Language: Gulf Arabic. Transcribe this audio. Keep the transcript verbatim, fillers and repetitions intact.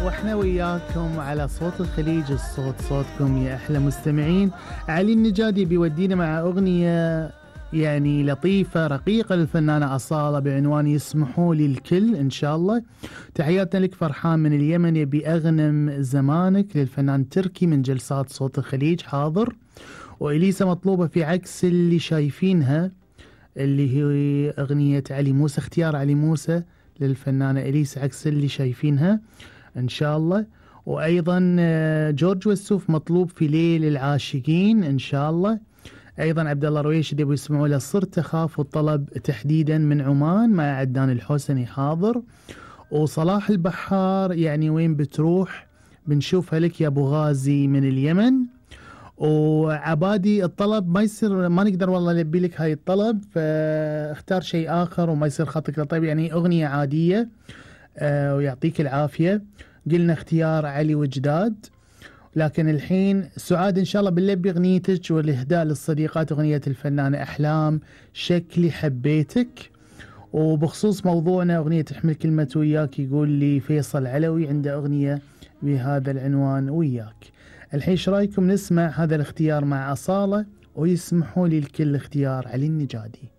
واحنا وياكم على صوت الخليج، الصوت صوتكم يا احلى مستمعين. علي النجادي بيودينا مع اغنيه يعني لطيفه رقيقه للفنانه اصاله بعنوان يسمحوا لي الكل. ان شاء الله تحياتنا لك فرحان من اليمن، يبي اغنم زمانك للفنان تركي من جلسات صوت الخليج حاضر. واليسا مطلوبه في عكس اللي شايفينها اللي هي اغنيه علي موسى، اختيار علي موسى للفنانه اليسا عكس اللي شايفينها ان شاء الله. وايضا جورج وسوف مطلوب في ليل العاشقين ان شاء الله. ايضا عبد الله رويش يبغوا يسمعوا له صرت اخاف، والطلب تحديدا من عمان مع عدنان الحسني حاضر. وصلاح البحار يعني وين بتروح بنشوفها لك يا ابو غازي من اليمن. وعبادي الطلب ما يصير، ما نقدر والله نلبي لك هاي الطلب، فاختار شيء اخر وما يصير خطك طيب، يعني اغنيه عاديه. آه ويعطيك العافيه. قلنا اختيار علي وجداد، لكن الحين سعاد ان شاء الله بنلبي اغنيتك والاهداء للصديقات اغنيه الفنانه احلام شكلي حبيتك. وبخصوص موضوعنا اغنيه تحمل كلمه وياك، يقول لي فيصل علوي عنده اغنيه بهذا العنوان وياك. الحين ايش رايكم نسمع هذا الاختيار مع اصاله ويسمحوا لي الكل اختيار علي النجادي.